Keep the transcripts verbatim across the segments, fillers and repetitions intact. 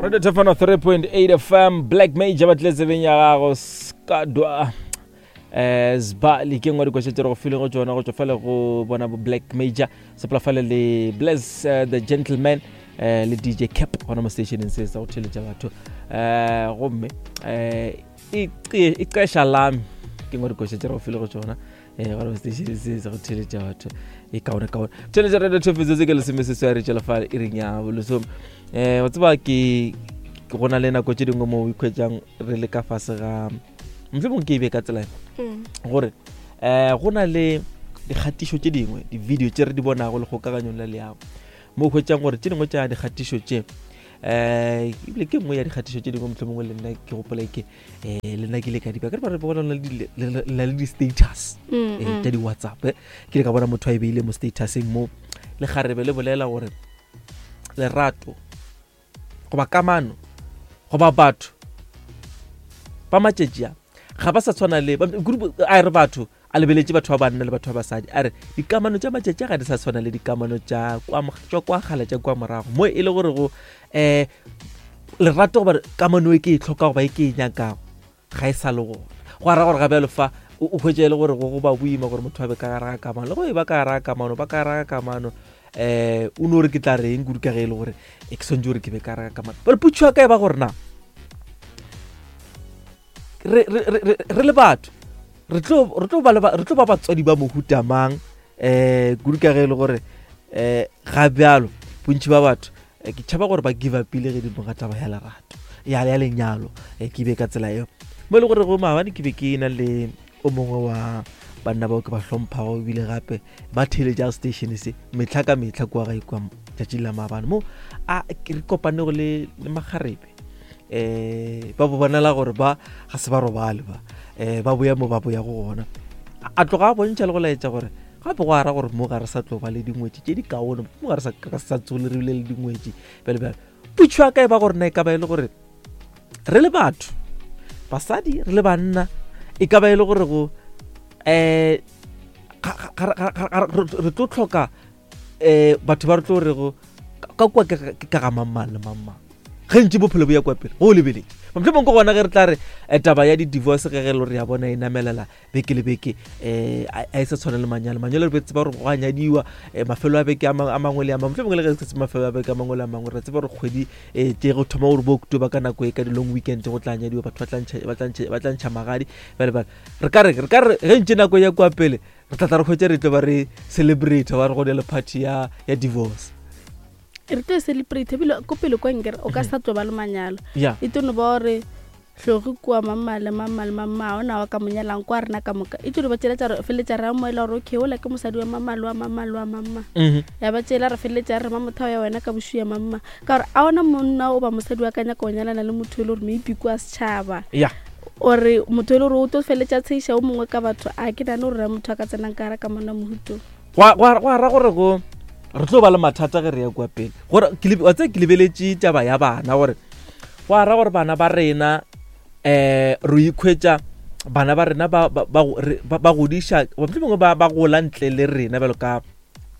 Radio Tefano three point eight F M, Black Major ba tlile tsebeng ya gago Skadwa eh Sbali ke nngwe dikoša tše re go fileng go tšona go tšwa fale go bona bo Black Major sepela fale le Bless uh, the Gentleman eh le D J Cap gona mo stationeng se sa go theletša batho eh gomme eh e qesha lami ke nngwe dikoša tše re go fileng go tšona eh gona mo stationeng se sa go theletša batho e kaone kaone theletša Radio Tefano tse ke lesome seswai re tšwela fale e reng ya bolesome eh o tseba ke go na le nako tše dingwe mo o ikhwetšang re le ka fase ga mohlomongwe ke e be ka tsela gore eh go na le dikgatišo tše dingwe di-video tše re di bonago le kgokaganyong la leago mo o hwetšang gore tše dingwe tša dikgatišo tše eh ebile ke nngwe ya dikgatišo tše dingwe mohlomongwe le nna ke gopola ke eh le nna ke ile ka di ba ke re ba bona le le di-status tša di-WhatsApp ke ile ka bona motho a e beile mo statuseng mo le kgarebe le bolela gore lerato goba kamano goba batho ba matšatši a ga ba sa tshwana le a re batho a lebeletše batho ba banna le batho ba basadi a re dikamano tša matšatši a ga di sa tshwana le dikamano tša kwa kwa kgale tša kwa morago mo e le gore go um lerato goba kamano e ke e tlhoka goba e ke e nyakago ga e sa le gona go ara gore ga bjalo fa o hwetša e le gore go go ba boima gore motho a be ka gare ga kamano le go e ba ka gare ga kamano ba ka gare ga kamano um o no re ke tla reng kudu ka ge e le gore e ke swantse gore ke be ka gare ga kamano bale potšo ya ka e ba gore na re re re le batho re tlo re tlo ba re tlo ba batswadi ba mohuta mang eh kudu ka ge e le gore eh ga bjalo bontši ba batho ke tšhaba gore ba give up ile ge di moga taba ya lerato ya ya lenyalo ke be ka tsela eo mo e le gore go maabane ke be ke na le o mongwe wa banna bao ke ba hlomphago ebile gape ba theletša station se mehla ka mehla kua gae kua tšatšing la maabane mo a re kopanego le le makgarebe eh ba bo bonela gore ba ga se ba robale ba eh ba boya mo ba boya go gona a tloga a bontšha le go laetša gore gape go ara gore mo ga re sa tlo ba le dingwetši tše di kaone mo ga re sa ka sa tsole re bile le dingwetši bjale bjale potšo ya ka e ba gore na e ka ba e le gore re le batho basadi re le banna e ka ba e le gore go eh re tlo tlhoka eh batho ba re tlo re go ka kwa ke ka ga mang le mang mang ge ntše bophelo bo ya kwa pele go o lebeletše mohlomongwe ke gona ge re tla re taba ya di-divorce ge ge le re ya bona e namelela beke le beke um a e sa tshwane le manyalo manyalo re tseba gore go a nyadiwa mafelo a beke a mangwe le a mangwe mohlomongwe le ge se mafelo a beke a mangwe le a mangwe re tseba gore kgwedi um tše go thoma gore bo October ka nako e ka di-long weekend go tla nyadiwa batho ba tla ntšha magadi bjale bjale re ka re re ka re ge ntše nako ya kwa pele re tla tla re hwetše re tlo ba re celebrate ba re go ne le party ya ya divorce re tlo celebrate ebile ko pele kwa nkere o ka sa tlo ba le manyalo e tlo no ba gore hlogi kua mamma le mamma le mamma ona wa ka monyalang kwa rena ka moka e tlo ba tsela tsa re feletša re amoela gore okay ola ke mosadi wa mamma le wa mamma le wa mamma ya ba tsela re feletša re ma motho ya wena ka bošu ya mamma ka gore a ona monna o ba mosadi wa ka nyaka go nyalana le motho e le gore maybe kwa setšhaba ore motho e le gore o tlo feletša tsheša o mongwe ka batho a ke nane gore motho a ka tsenang ka gare ka mona mohuto go ra gore go re tlo ba le mathata ge re ya kwa pele gore wa tseba ke lebeletše taba ya bana gore go ara gore bana ba rena um re ikhwetša bana ba rena ba ba godiša mohlomongwe ba ba gola ntle le rena bjalo ka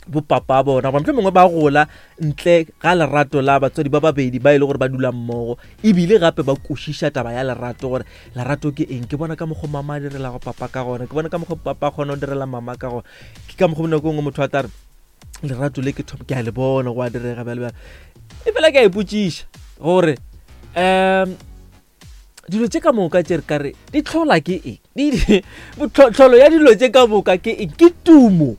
bopapa bona goba mohlomongwe ba gola ntle ga lerato la batswadi ba babedi ba e le gore ba dula mmogo ebile gape ba kwešiša taba ya lerato gore lerato ke eng ke bona ka mokgwa mama a direlago papa ka gona ke bona ka mokgwa papa a kgona go direla mama ka gona ke ka mokgwa nako nngwe motho a tla re lerato le ke thoma ke a le bona go a direga bjale bjale e fela ke a ipotšiša gore um dilo tše ka moka tše re ka re di tlhola ke eng tlholo ya dilo tše ka moka ke eng ke tumo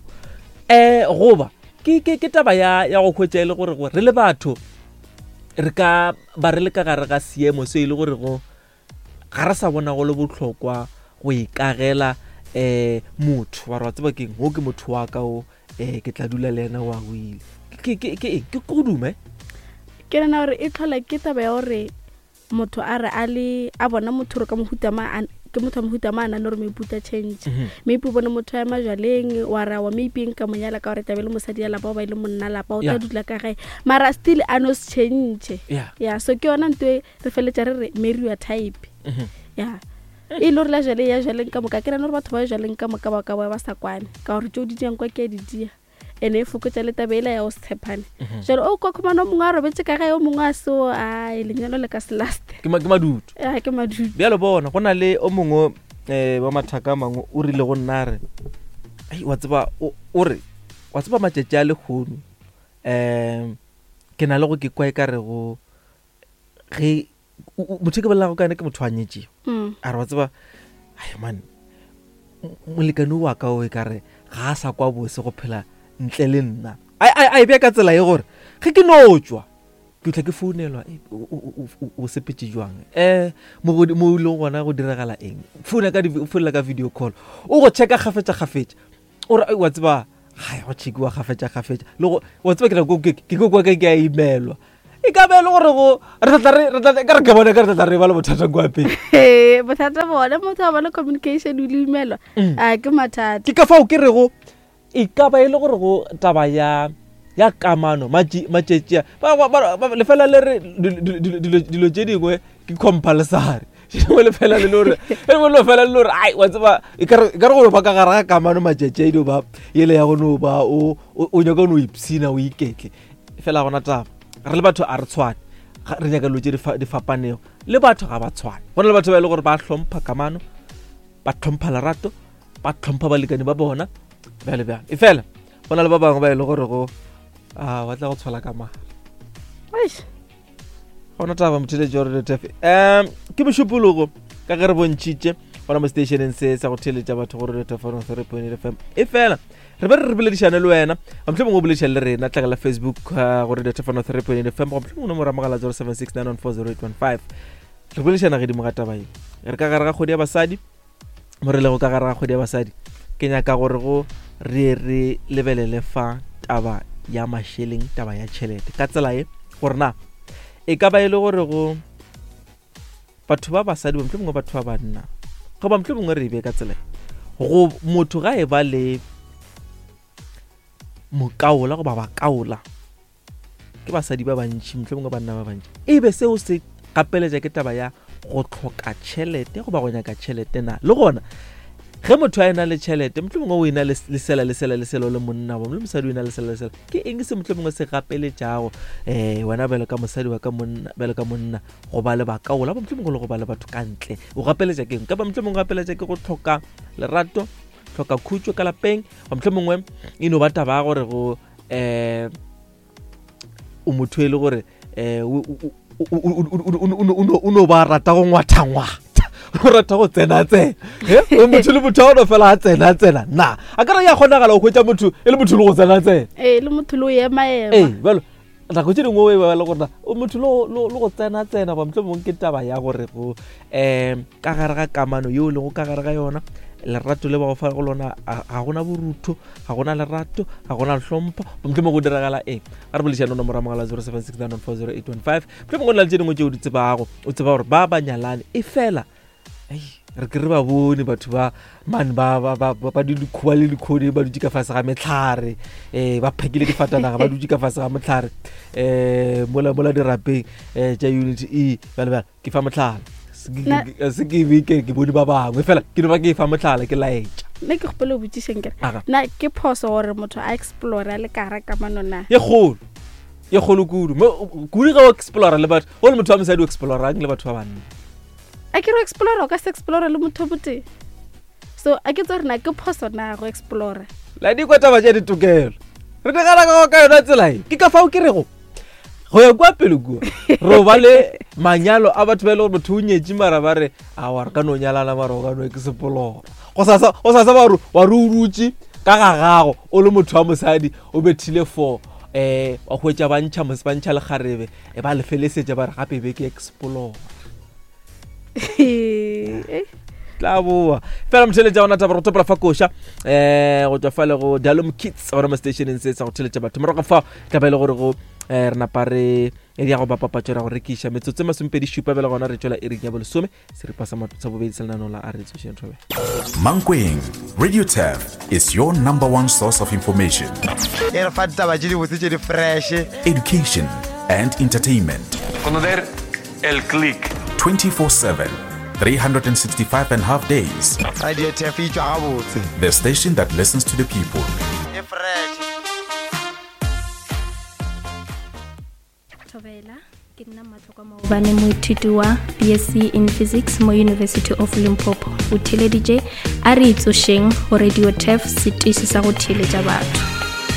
um goba ke ke ke taba ya ya go hwetša e le gore re le batho re ka ba re le ka gare ga seemo se e le gore go ga re sa bona go le bohlokwa go ikagela um motho wa re wa tseba keng o ke motho wa ka o eh ke tla dula le yena wa go ile ke ke ke ke go dume ke rena gore e tlhola ke taba ya gore motho a re a le a bona motho re ka mohuta ma ke motho wa mohuta ma a nane gore maybe o tla change maybe o bone motho ya majaleng wa ra wa maybe nka monyala ka gore tlabe le mosadi ya lapa o ba ile monna lapa o tla dula ka gae mara still a no se change ya so ke yona ntho e re feletša re re marry your type ya e le gore la jale ya jaleng ka moka ke nane gore batho ba jaleng ka moka ba ka ba ba sa kwane ka gore tšeo di diang kwa ke a di dia Ene e fokotša le taba ela ya go se tshepane. Jalo o kwa khumana o mongwe a robetse ka gae, o mongwe a seo, ai lenyalo le ka se laste. Ke ma- ke madutu. A ke madutu. Bjalo bona go na le o mongwe um wa mathaka a mangwe o rile go nna re ai wa tseba o o re wa tseba matšatši a lekgono um ke na le go ke kwa e ka re go ge motho ke bolelago ka ene ke motho a nyetšego. Mm. A re wa tseba ai man molekane wa ka o e ka re ga a sa kwa bose go phela ntle le nna. A a e bea ka tsela ye gore ge ke no tšwa ke tla ke founelwa o sepetse jwang eh mo mo ile gona go diragala eng, founa ka founela ka video call o go checka gafetša gafetša o re wa tseba ga go checkiwa gafetša gafetša le go wa tseba ke re ke ke kwa ke a emailwa e ka be le gore go re tla re re tla ka re ke bona ka re tla re ba le bothata kwa pele. Eh bothata bona motho a ba le communication o le emailwa a ke mathata. Ke ka fao ke re go e ka ba e le gore go taba ya ya kamano matšetši lefela le re dilo tše dingwe ke compulsory dingwe lefela le le gore lefela le gore ai wa tseba e ka re gore ba ka gare ga kamano matšetši a dio ba ele ya go no ba o o nyaka no ipshina o iketle fela gona taba re le batho a re tshwane re nyaka dilo tše di fapanego le batho ga ba tshwane. Go na le batho ba e le gore ba hlompha kamano, ba hlompha lerato, ba hlompha balekane ba bona bjale bjale e fela go na le ba bangwe ba e le gore go a wa tla go tshola ka mara gona taba motheletši wa Radio Turf. Um ke mošupologo ka ge re bontšhitše gona mo stationeng se sa go theletša batho go Radio Turf one three point eight F M. E fela re be re re boledišane le wena mohlomongwe o boledišane le rena tlagela Facebook go Radio Turf one three point eight F M goba mohlomongwe nomoro ya mogala zero seven six nine one four zero eight one five. Re boledišana gedimo ga taba ye re ka gare ga kgwedi ya basadi mo re lego ka gare ga kgwedi ya basadi ke nyaka gore go re re lebelele fa taba ya mašeleng, taba ya tšhelete ka tsela ye gore na e ka ba e le gore go batho ba basadi ba mohlomongwe batho ba banna goba mohlomongwe re e be ka tsela go motho ga e ba le mokaola goba bakaola ke basadi ba bantši mohlomongwe banna ba bantši e be seo se gapeletša ke taba ya go hloka tšhelete goba go nyaka tšhelete na le gona ge motho a ena le tšhelete mohlomongwe o ena le sela le sela le sela le monna bo le mosadi o ena le sela le sela ke eng se mohlomongwe se gapeletšago eh wena bjalo ka mosadi wa ka monna bjalo ka monna go ba le bakaola ba mohlomongwe le go ba le batho ka ntle o gapeletša ke eng ka ba mohlomongwe gapeletša ke go hloka lerato, hloka khutšo ka lapeng ba mohlomongwe e no ba taba ya gore go eh o motho e le gore eh o no ba rata go ngwathangwatha o rata go tsena tsena o motho le motho a ono fela a tsena tsena na a ka re ya kgonagala o hwetša motho e le motho le go tsena tsena ee le motho le o ema ema ee bjalo nako tše dingwe o e ba le gore o motho le go tsena tsena ba mohlomongwe ke taba ya gore go um ka gare ga kamano yeo e lego ka gare ga yona lerato le ba go fa go lona ga gona borutho, ga gona lerato, ga gona hlompho mohlomongwe go diragala eng. A re boledišane nomoro ya mogala zero seven six nine one four zero eight one five mohlomongwe go na le tše dingwe tšeo di tsebago o tseba gore ba ba nyalane e fela ai re ke re ba bone batho ba man ba ba ba ba di dikhuba le dikhodi ba dutše ka fase ga metlhare eh ba phakile difatanaga ba dutše ka fase ga motlhare eh mola mola dirapeng eh tša unit E bjale bjale ke fa motlhala se ke be ke ke bone ba bangwe fela ke no ba ke fa motlhala ke laetša. Nna ke kgopela o botšišeng kere na ke phoso gore motho a explore le ka gare kamano na ye kgolo ye kgolo kudu kudu ga o explore le batho o le motho wa mosadi o explorang le batho ba banna a ke re explore o ka se explore le motho botee so a ke tse gore na ke phoso na go explore la di kwa taba tša ditokelo re di gana ka ka yona tsela e ke ka fao ke rego go ya kwa pele kua re ba le manyalo a batho ba e le gore motho o nyetše mara ba re awa re ka no nyalana mara o ka no ke sepolora go sasa go sasa ba re wa re o dutše ka ga gago o le motho wa mosadi o bethile four eh wa hwetša ba ntšha ba ntšha lekgarebe e ba lefelesetša ba re gape be ke explore tla boa fela motheletša gona taba go topela fa koša um go tswa fa le go Dalom Kids gona mo stationeng se sa go theletša batho morago fa tla ba e le gore go um re napa re ya go bapapatšo ra go rekiša metsotso e masomepedi šupa bjale gona re tšwela iring ya bolesome seripa sa bobedi sa lenaneo la a re tsošeng thobe. Mankweng Radio Turf is your number one source of information, e re fa ditaba tše dibotse tše di fresh, education and entertainment. Conocer el click twenty-four seven, three hundred sixty-five and a half days. Radio Turf e tšwa gabotse. The station that listens to the people. E fresh. Dumela, ke nna Matlhokwa Maobane, moithuti wa B S C in Physics mo University of Limpopo. O theeleditše A Re Itsošeng go Radio Turf, setiši sa go theeletša batho.